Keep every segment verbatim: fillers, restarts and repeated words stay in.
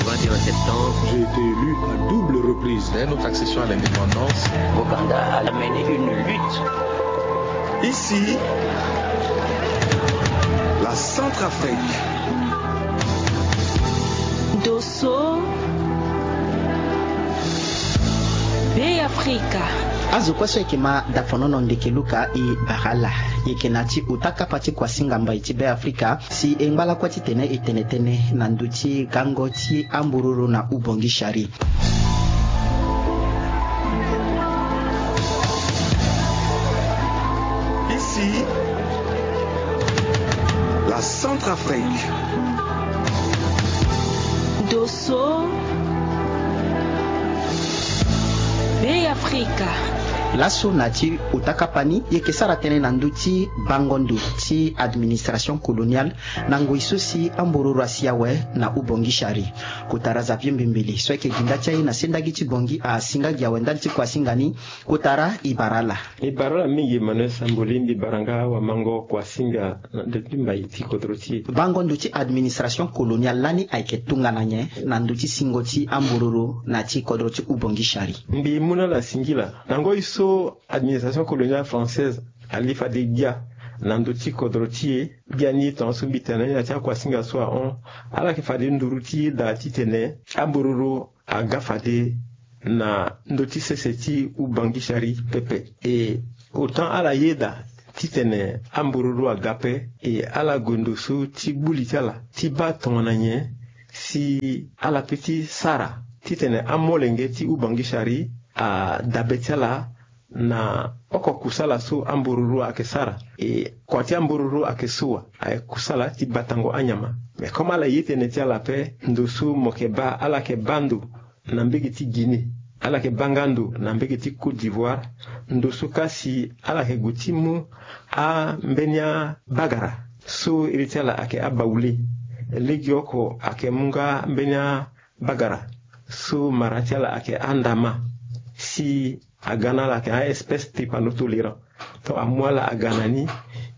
J'ai été élu à double reprise. Dès notre accession à l'indépendance, Ouganda a mené une lutte. Ici, la Centrafrique. Dosso, Be Afrika. Azo kue so eke ma dafonono ndeke luka e bara ala. Eke na ti uta kapa ti kuasinga mbai ti Be Afrika. Si e ngba lakue titene e tene tënë na ndö ti gango ti ambururu na ubongi shari. Ici, la Centrafrique. Dosso, Be Afrika. Laso na ti uta kapa ni, e yeke sara tënë na ndö ti bango ndo ti administration coloniale na ngoi so si ambururu asi awe na ubongi shari. Kotara Xavier Mbimbili so ayeke gi nda ti aye na sendagi ti Bongi asi nga gi awe ndali ti kuasinga ni. Kotara, e bara ala. E bara ala mingi Emmanuel Samboli, mbi bara nga wamango kuasinga na ndö ti mbai ti kodro ti e. Bango ndo ti administration coloniale lani ayeke tongana nyen na ndö ti singo ti ambururu na ti kodro ti ubongi shari? Mbi mu na ala singila. Na ngoi so administration coloniale française ali fade gbia na ndö ti kodro ti e, gbia ni tongaso mbi tene na ya ti akuasinga so ahon, ala yeke fade nduru ti e daa titene ambururu aga fade na ndö ti sese ti ubongi shari pepe. E autant ala yeda titene ambururu aga ape, e ala gue ndo so ti gbu li ti ala ti baa tongana nyen si ala peut ti sara titene amolenge ti ubongi shari adabe ti ala na oko kusala so ambururu ayeke sara. E kua ti ambururu ayeke so wa, ayeke kusala ti batango anyama. Mais comme ala ye tënë ti ala ape, ndo so mo yeke baa, ala yeke baa ndo na mbege ti Guinée, ala yeke baa nga ndo na mbege ti Côte d'Ivoire. Ndo so ka si ala yeke gue ti mu ambeni abagara so iri ti ala ayeke abawule. Legeoko ayeke mu nga mbeni abagara so mara ti ala ayeke andama. Si aga na ala ayeke a-espèce tripano tolérant. Donc amu ala aga na ni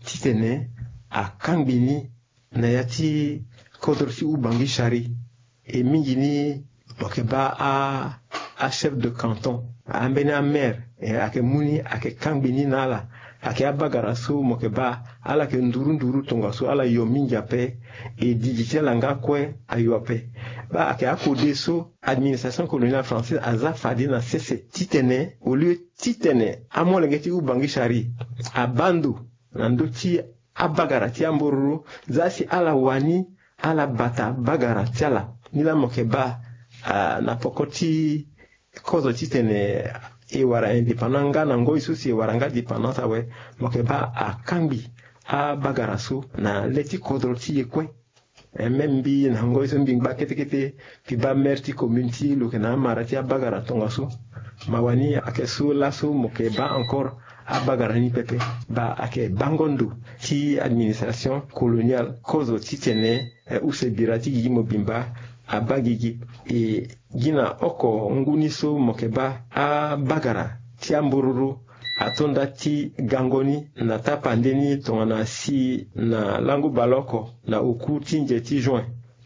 titene akangbi ni na ya ti kodro ti ubongi shari. E mingi ni mo yeke baa a, achef de canton, ambeni amaire, e ayeke mu ni, ayeke kangbi ni na ala. Ayeke abagara so mo yeke baa ala yeke nduru nduru tongaso ala yo mingi ape. E didi ti ala nga kue ayo ape. Baa ayeke akode so administration coloniale française aza fade na sese titene au lieu titene amolenge ti ubongi shari abaa ndo na ndö ti abagara ti ambururu, za si ala wani ala bata bagara ti ala. Ni laa mo yeke baa, ah, na poko ti kozo titene e wara indépendance nga na ngoi so si e wara nga dépendance awe, mo yeke baa akangbi abagara so na le ti kodro ti e kue. Eh, même mbi na ngoi so mbi ngba kete kete, mbi baa maire ti commune ti lo yeke na amara ti abagara tongaso. Mawa ni ayeke so laso mo yeke baa encore abagara ni pepe. Baa ayeke bango ndo ti administration coloniale kozo titene, eh, use bira ti gigi mobimba abaa gigi. E gi na oko ngu ni so mo yeke baa abagara ti ambururu ato nda ti gango ni na tapande ni tongana si na lango baleoko na oku ti nze ti juin.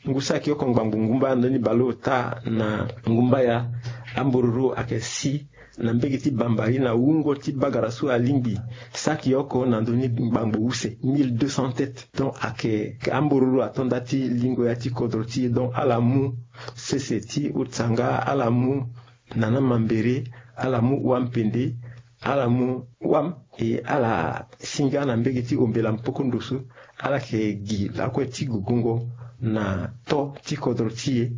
Ngu saki oko ngbangbo ngumbaya ndani baleota na ngumbaya, ambururu ayeke si na mbege ti bambari na wungo ti bagara so alingbi saki oko na ndö ni ngbangbo use, mille deux cents têtes. Donc ayeke ambururu ato nda ti lingo ya ti kodro ti e. Donc ala mu sese ti otanga, ala mu nana mambere, ala mu wam pende, ala mu wam, e ala si nga na mbege ti ombela mpoko ndo so, ala yeke gi lakue ti gugungo na to ti kodro ti e.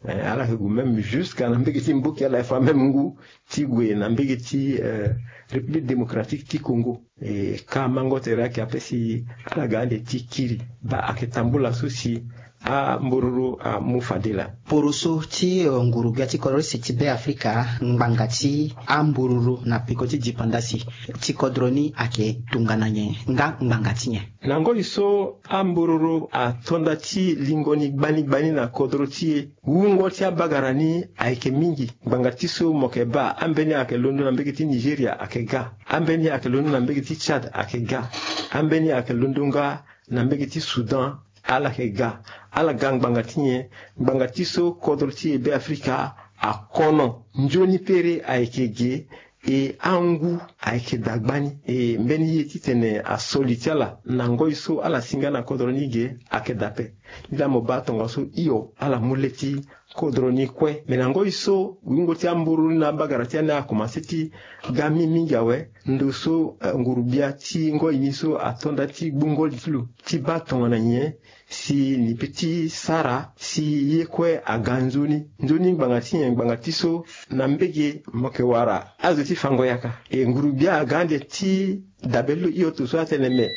Eh, ala yeke gue même jusqu'à na mbege ti mboki, ala yeke fa même ngu ti gue na mbege ti, eh, République Démocratique ti Congo. E ka mango tere ayeke ape si ala ga ande ti kiri. Baa ayeke tambula so si ambururu amu fade laa. Poroso ti, eh, nguru gbia ti kodro use ti Be Afrika, ngbanga ti ambururu na peko ti dipandasi ti kodro ni ayeke tongana nyen nga ngbanga ti nyen? Na ngoi so ambururu ato nda ti lingo ni gbani gbani na kodro ti e, wungo ti abagara ni ayeke mingi. Ngbanga ti so mo yeke baa, ambeni ayeke londo na mbege ti Nigeria ayeke ga. Ambeni ayeke londo na mbege ti Tchad ayeke ga. Ambeni ayeke londo nga na mbege ti Soudan, ala yeke ga. ala ga ngbanga ti nyen? Ngbanga ti so kodro ti e Be Afrika akono. Nzoni pere ayeke ge, e angu ayeke dagbani. E mbeni ye titene aso li ti ala na ngoi so ala si nga na kodro ni ge ayeke daa ape. Nda mo baa tongaso hio ala mu le ti kodro ni kue. Me na ngoi so wungo ti amburu ni na abagara ti ani akomanse ti ga mingi mingi awe, ndo so, eh, nguru-gbia ti ngoi ni so ato nda ti gbu ngoli ti lo ti baa tongana nyen si ni pe ti sara si ye kue aga nzoni. Nzoni ngbanga ti nyen? Ngbanga ti so na mbege mo yeke wara azo ti fango yaka. E nguru-gbia aga ande ti dabe lo hio to so atene me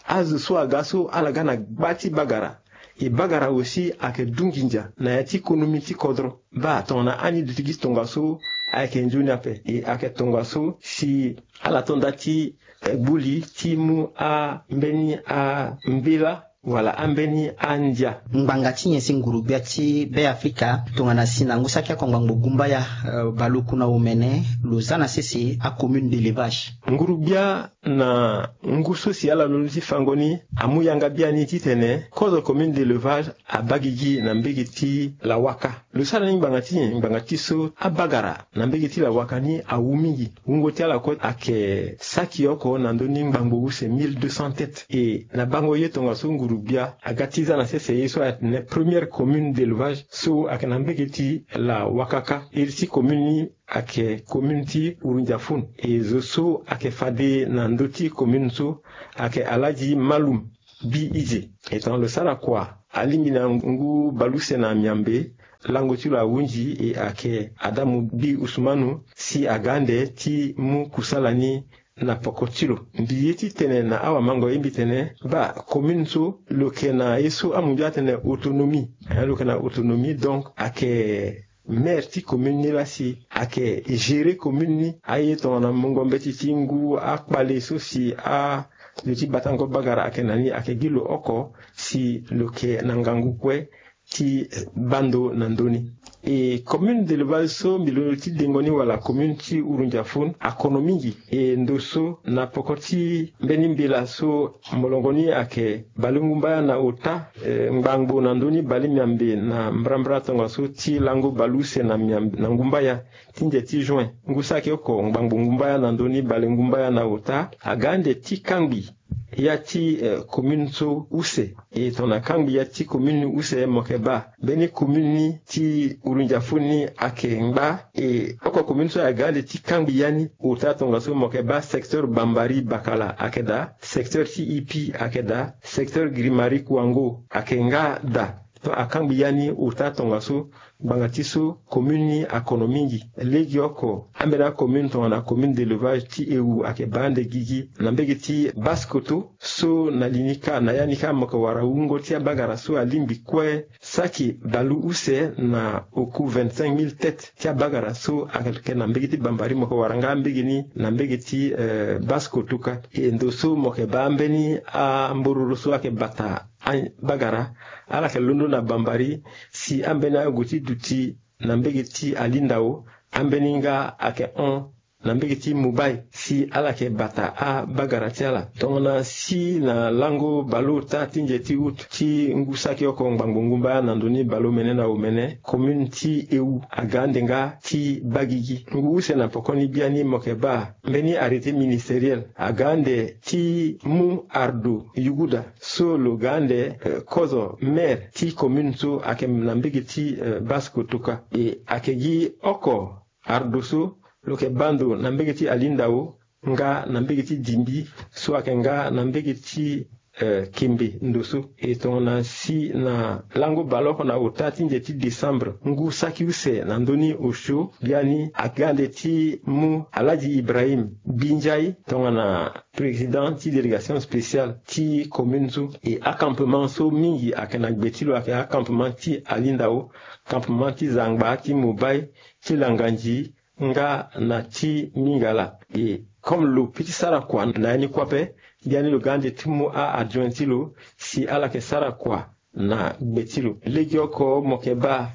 azo so aga so ala ga na gba ti bagara. E bagara aussi ayeke du nginza na ya ti konomi ti kodro. Baa tongana ani duti gi tongaso ayeke nzoni ape. E ayeke tongaso si ala to nda ti, eh, gbu li ti mu ambeni ambela wala ambeni andia. Ngbanga ti nyen si nguru-gbia ti Be Afrika tongana si na ngu saki oko ngbangbo gumbaya, eh, baleoku na omene lo za na sese acommune d'élevage? Nguru-gbia na ngu so si ala londo ti fango ni amu yanga biani titene kozo commune d'élevage abaa gigi na mbege ti lawaka. Lo sara ni ngbanga ti nyen? Ngbanga ti so abagara na mbege ti lawaka ni awu mingi. Wungo ti ala kue ayeke saki oko na ndö ni ngbangbo use, mille deux cents têtes. E na bango ye tongaso nguru-gbia aga ti za na sese ye so atene première commune d'élevage so ayeke na mbege ti lawaka kâ. Iri ti commune ni ayeke commune ti Urundiafun. E zo so ayeke fade na ndö ti commune so ayeke Alhaji Malum Bi Ize. E tongana lo sara kua, alingbi na ngu baleuse na miambe, lango ti lo ahunzi, e ayeke Adamu Bi Usumanu si aga ande ti mu kusala ni na poko ti lo. Mbi ye ti tene na awamango ye mbi tene, baa commune so lo yeke na ye so amunzu atene autonomie. Eh, lo yeke na autonomie, donc ayeke maire ti commune ni laa si ayeke gérer commune ni. Aye tongana mungo mbeti ti ngu akpale so si azo ti batango bagara ayeke na ni, ayeke gi lo oko si lo yeke na ngangu kue ti baa ndo na ndö ni. E commune d'élevage so mbi londo ti dengo ni wala commune ti Urundiafun akono mingi. E ndo so na poko ti mbeni mbela so molongo ni ayeke baleungumbaya na ota, eh, ngbangbo na ndö ni balemiambe na mbrambra tongaso ti lango baleuse na miambe na ngumbaya ti nze ti juin. Ngu saki oko ngbangbo ngumbaya na ndö ni baleungumbaya na ota aga ande ti kangbi ya ti, eh, commune so use. E tongana kangbi ya ti commune ni use, mo yeke baa mbeni commune ni ti Urundiafun ni ayeke ngba. E oko commune so aga ande ti kangbi ya ni ota tongaso mo yeke baa secteur Bambari Bakala ayeke daa, secteur ti Ipi ayeke daa, secteur Grimari Kuango ayeke nga daa. Donc akangbi ya ni ota tongaso ngbanga ti so commune ni akono mingi. Lege oko ambeni acommune tongana commune d'élevage ti Ewu ayeke baa ande gigi na mbege ti Basse-Kotto. So na li ni kâ, na ya ni kâ mo yeke wara wungo ti abagara so alingbi kue saki baleuse na oku vingt-cinq mille têtes ti abagara so ayeke na mbege ti Bambari, mo yeke wara nga mbege ni na mbege ti, eh, Basse-Kotto kâ. E ndo so mo yeke baa mbeni ambororo so ayeke bata abagara, ala yeke londo na Bambari, si ambeni ague ti duti na mbege ti Alindao, ambeni nga ayeke hon na mbege ti Mobay, si ala yeke bata abagara ti ala. Tongana si na lango baleota ti nze ti août ti ngu saki oko ngbangbo ngumbaya na ndö ni baleomene na omene, commune ti Ewu aga ande nga ti baa gigi. Ngu use na poko ni biani mo yeke baa mbeni arrêté ministériel aga ande ti mu Ardo Yuguda so lo ga ande, eh, kozo maire ti commune so ayeke na mbege ti, eh, Basse-Kotto kâ. E ayeke gi oko Ardo so lo yeke baa ndo na mbege ti Alindao nga na mbege ti Dimbi so ayeke nga na mbege ti, eh, Kembe ndo so. E tongana si na lango baleoko na ota ti nze ti décembre ngu saki use na ndö ni osio biani aga ande ti mu Alhaji Ibrahim Binjai tongana président ti délégation spéciale ti commune so. E acampement so mingi ayeke na gbe ti lo ayeke acampement ti Alindao, campement ti Zangba, ti Mobay, ti Langanzi, nga na ti Mingala. E comme lo pe ti sara kua na ya ni kue ape, biani lo ga ande ti mu a-adjoint ti lo si ala yeke sara kua na gbe ti lo. Legeoko mo yeke baa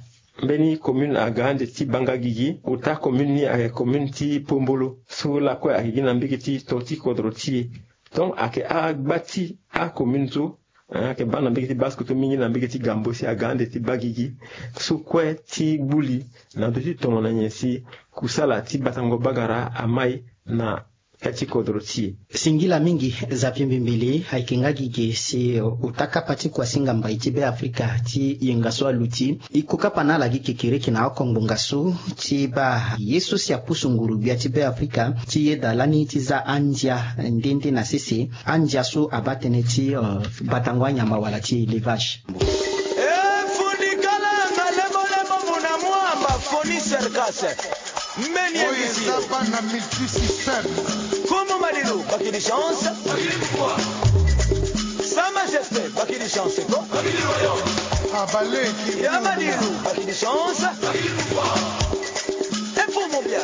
mbeni commune aga ande ti baa nga gigi, ota commune ni ayeke commune ti Pombolo so lakue ayeke gi na mbege ti to ti kodro ti e. Donc ayeke agba ti acommune so Ayeke baa na mbege ti baa sikoto mingi na mbege ti gambo si aga ande ti baa gigi so kue ti gbu li na ndö ti tongana nyen si kusala ti batango bagara amai na ya ti kodro ti e. Singila mingi. Zapi mbimbili ayeke nga gi ge si ota kapa ti kuasinga mbai ti Be Afrika ti yenga so aluti iko kapa na ala gi kekereke na oko ngbonga so ti baa ye so si apusu nguru-gbia ti Be Afrika ti yeda lani ti za andia nde nde na sese, andia so abaa tënë ti batango anyama wala ti élevage. E fundi kala nga lebo lebo muna mwamba foni serkase. Mbeni ye mbi si yo. Oyo eza bana multisystème. Komo Madilu bakidi chance. Sa majesté bakidi chance ko. Abaleki. Ya Madilu bakidi chance. E fumu bia.